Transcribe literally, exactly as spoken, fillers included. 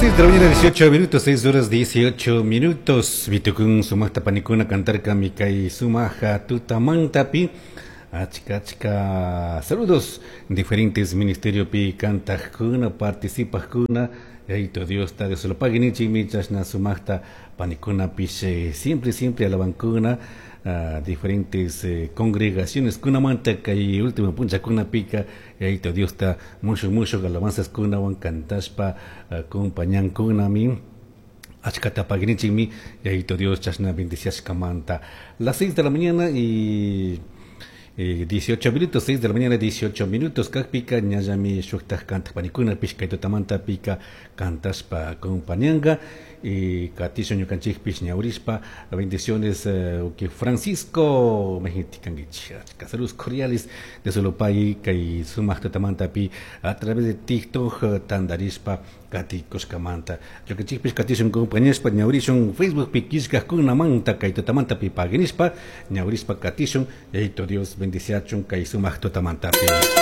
Las seis de la mañana, dieciocho minutos, seis horas dieciocho minutos. Vitukun sumajta panikuna cantarka kay sumaja tutamantapi. Achka achka saludos diferentes ministerio pi kantajkuna, participajkuna. Yayito Dios ta Dios lo pague nichimi chashna sumajta panikuna pish siempre siempre alabankuna uh, diferentes eh, congregaciones kunamanta kay último punchakuna pika Yayito Diosta mushuj mushuj alabanzas kunawan kantashpa uh, compañankunami. Achkata paginichikmi Yayito Dios chashna bendiciashkamanta. Las seis de la mañana y eh, dieciocho minutos, seis de la mañana dieciocho minutos, kakpika ñallami shuktaj kantaj panikuna pish kay tutamanta pika kantashpa acompañanga y katishun ñukanchikpish ñawrishpa. Bendiciones, eh, que Francisco mejitikanguich, saludos cordiales de Solopay kay sumaq tutamantapi a través de TikTok tandarishpa katikushkamanta. Ñukanchikpish katishun compañashpa ñawrishun Facebook pi killkajkunamanta kay tutamantapi paginishpa ñawrishpa katishun. Yayito Dios bendiciachun kay sumaq tutamantapi.